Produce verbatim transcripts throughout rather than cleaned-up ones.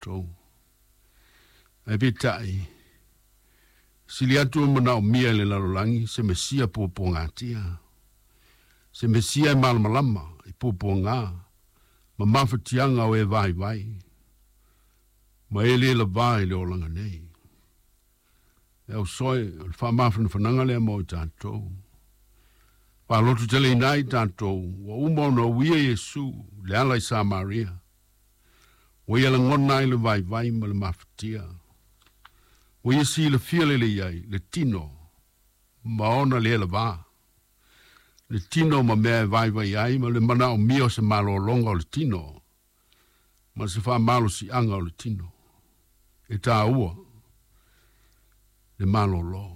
Tou. Ae peitai, sili atu le manaomia e le lalolagi se Mesia puapuagatia, se Mesia e malamalama i puapuaga ma mafatiaga o e vaivai, ma e lē lavā i le olaga nei. E ausoe, o le faamafanafanaga lea mo i tatou. Faalototeleina ai tatou, ua uma ona uia Iesu le ala i Samaria, ua ia lagona ai le vaivai ma le mafatia. Ua ia silafia lelei ai le tino ma ona lē lavā, le tino ma mea e vaivai ai ma le manaomia o se malologa o le tino ma se faamalosiaga o le tino. E tāua le malōlō.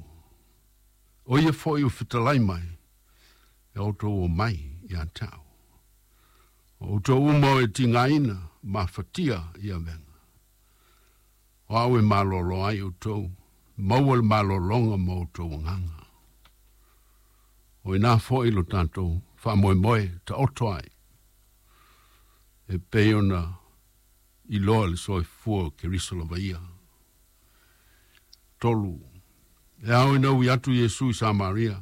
O ia foi ua fetalai mai, e outou omai ia te au, o outou uma o e tigaina mafatia i avega. O au e malōlō ai outou, maua le malōlōga mo outou agaga. O ina foi lo tatou faamoemoe taoto ai, e pei ona iloa le soifua o Keriso lava ia. Tolu, e ao ina ui atu Iesu i Samaria,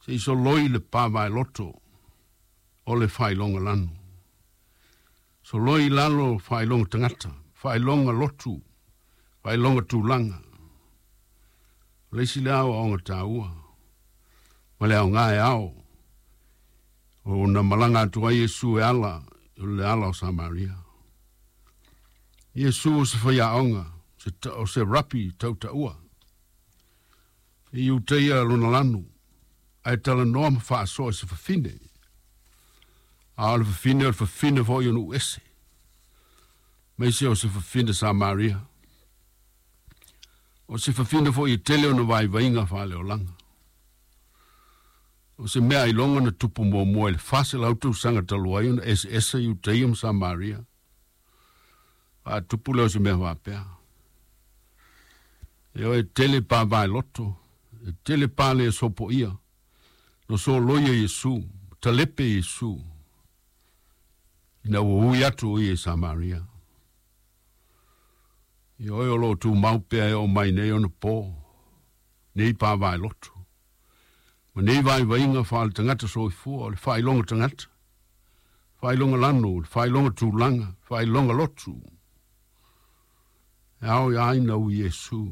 se i soloi le pavaeloto o le faailoga lanu. Soloi i lalo faailoga tagata, faailoga lotu, faailoga tulaga. O le isi lea aoaoga taua, ma le aoga e ao ona malaga atu ai Iesu e ala o le ala o Samaria. Iesu o se faiaoga, o se rapi tautaua. E Iutaia lona lanu, ae talanoa ma faasoa i se fafine. A o le fafine o le fafine foi o nuu ese, maise o se fafine Samaria. O se fafine foi e tele ona vaivaiga faaleolaga. O se mea ailoga na tupu muamua i le faselau tausaga talu ai ona eseese Iutaia ma Samaria. Faatupu lea o se mea faapea. E o e tele pavaeloto, e tele pale e sopoia, no soloia Iesu, talepe Iesu, ina ua ui atu o ia i Samaria. Ioe o loo tumau pea e oo mai nei ona po, nei pavaeloto, ma nei vaivaiga faaletagata soifua, o le faailoga tagata, faailoga lanu, le faailoga tulaga, faailoga lotu. E ao ia ina ui Iesu.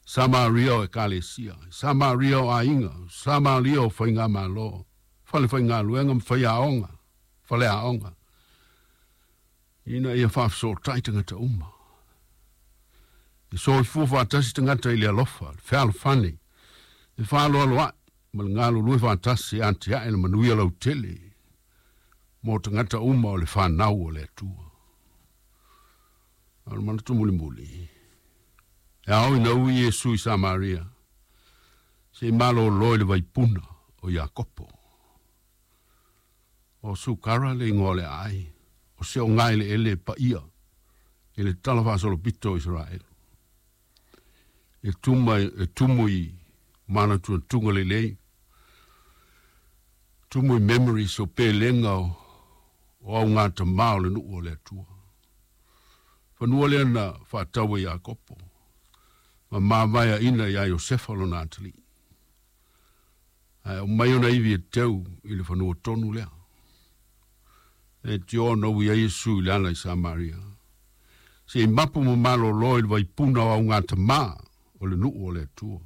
Samaria o ekalesia, Samaria o aiga, Samaria o faigamalo, fale faigaluega ma faiaoga, faleaoga, ina ia faafesootai tagata uma. E soifua faatasi tagata i le alofa, le fealofani, le faaloaloa'i ma le galulue faatasi e atiae le manuia lautele mo tagata uma o le fanau o le Atua. O le manatu mulimuli, e ao ina ui Iesu i Samaria, se i malōlō i le vaipuna o Iakopo. O Sukara le igoa o le aai, o se ogaeleele e paia i le tala faasolopito o Isaraelu. E tuma e tumu i manatunatuga lelei, tumu i memories o pelega o, o augatamā o le nuu o le Atua. Fanua lea na faatau e Iakopo, ma mavaeaina iā Iosefa lona atalii. Ae aumai ona ivi e teu i le fanua tonu lea. E tio na ui ai Iesu i le ala i Samaria, se i mapu ma malōlō i le vaipuna o augatamā o le nuu o le Atua.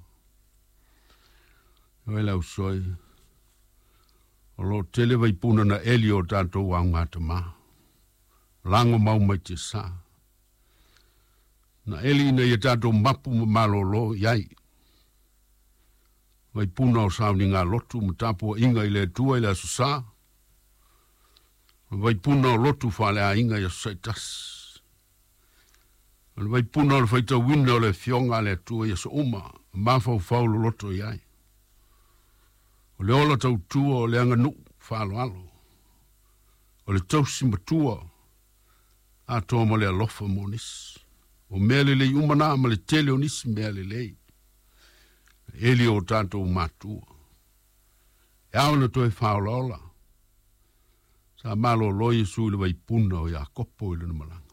Ioe le ausoe, o loo tele vaipuna na eli o tatou augatamā, lago mau mai tiasā. Na eli ina ia tatou mapu ma malōlō i ai. Vaipuna o sauniga lotu ma tapuaʻiga i le Atua i le aso sa, o le vaipuna o lotu faaleaiga i aso saʻitasi. O le vaipuna o le faitauina o le afioga a le Atua i aso uma, mafaufau loloto i ai. O le ola tautua o le aganuu faaaloalo. O le tausi matua atoa ma le alofa mo nisi. O mea lelei uma na ma le tele o nisi mea lelei. Eli o tatou matua. E ao na toe faaolaola. Sa malōlō Iesu i le vaipuna o Iakopo i lona malaga.